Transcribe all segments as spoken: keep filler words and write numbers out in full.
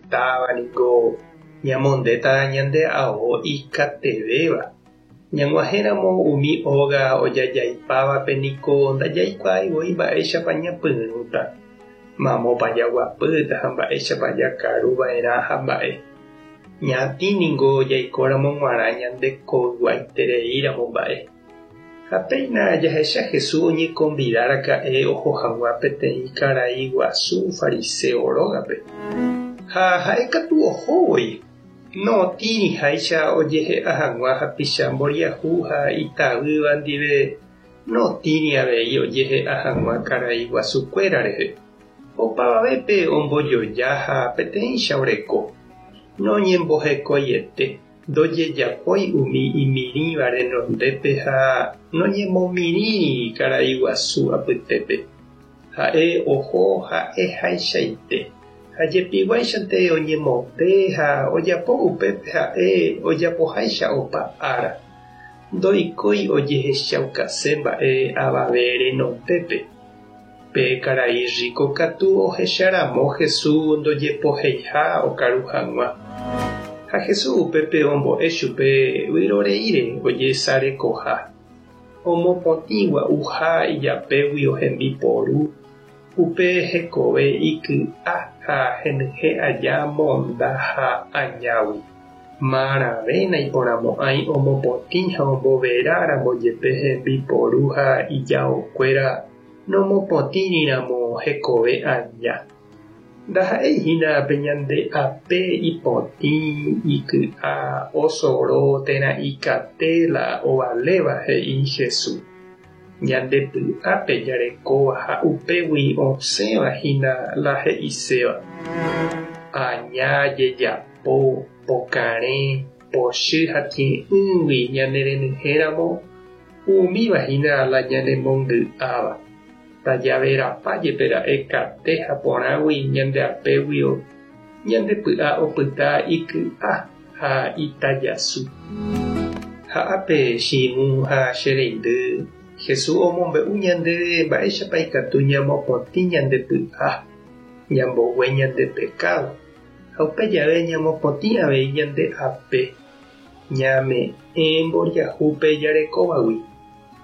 Hetáva niko ñamondéta ñande ao ikatevéva. Ñag̃uahẽramo umi óga ojajaipávape niko ndajaikuaái mba'éichapa ñapyrũta. Mamópa jaguapýta ha mba'éichapa jakaruva'erã ha mba'e. Ñatĩ ningo jaikóramo g̃uarã ñande koyguaitereíramo mba'e. Ha péina jahecha Jesús oñekonvidaraka'e oho hag̃ua peteĩ karai guasu fariseo rógape. Ha ha'ékatu ohóvoi. Notĩriháicha ojehe'a hag̃ua hapicha mboriahu ha itavýva ndive notĩri avei ojehe'a hag̃ua karai guasukuéra rehe. Opavavépe ombojoja ha peteĩcha oreko. Noñembohekoiete, ndojejapói umi imirĩva renondépe ha noñemomirĩri karai guasu apytépe. Ha'e oho ha'ehaichaite. Ha jepiguáichante oñemonde ha ojapo upépe ha'e ojapoháicha opa ára. Ndoikói ojehechaukase mba'e avave renondépe. Pe karai rico katu ohecharamo Jesús ndojepoheiha okaru hag̃ua. Ha Jesús upépe ombo'e chupe vyroreíre ojesarekoha. Omopotĩ gua'uha ijapégui hembiporu upe hekove iky'a ha henyhẽ aja monda ha añágui. Marãve naiporãmo'ãi omopotĩ ha omboveráramo jepe hembiporu ha ijaokuéra nomopotĩriramo hekove aña. Ndaha'eihína pe ñande ape ipotĩ iky'a osoro térã ikate la ovaléva he'i Jesús. Ñande py'ápe jarekóva ha upégui osẽvahína la he'iséva. Aña jejapo, pokarẽ, pochy ha tie'ỹgui ñanerenyhẽramo umívahína la ñanemongy'áva. Tajaverapa jepera'e kate ha porãgui ñande apéguio ñande py'a opyta iky'a ha itajasu. Ha ápe che irũ ha che reindy Jesús omombe'u ñandéve mba'éichapa ikatu ñamopotĩ ñande py'a, ñambogue ñande pecado ha upe jave ñamopotĩ avei ñande ape, ñame'ẽ mboriahúpe jarekóvagui,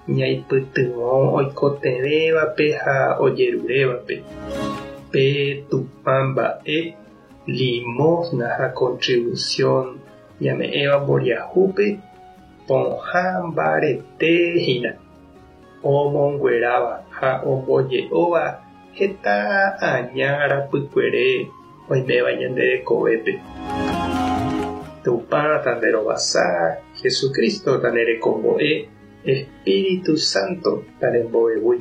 ñaipytyvõ oikotevẽvape ha ojerurévape. Pe Tupã mba'e limosna ha contribución ñame'ẽva mboriahúpe pohã mbaretehína. Omongueráva ha omboje'óva heta aña rapykuere oiméva ñande rekovépe. Tupã tanderovasa, Jesucristo tanerekombo'e, Espíritu Santo tanembo'evúi.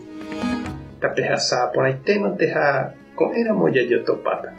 Tapehasa porãitémante ha ko'ẽramo jajotopáta.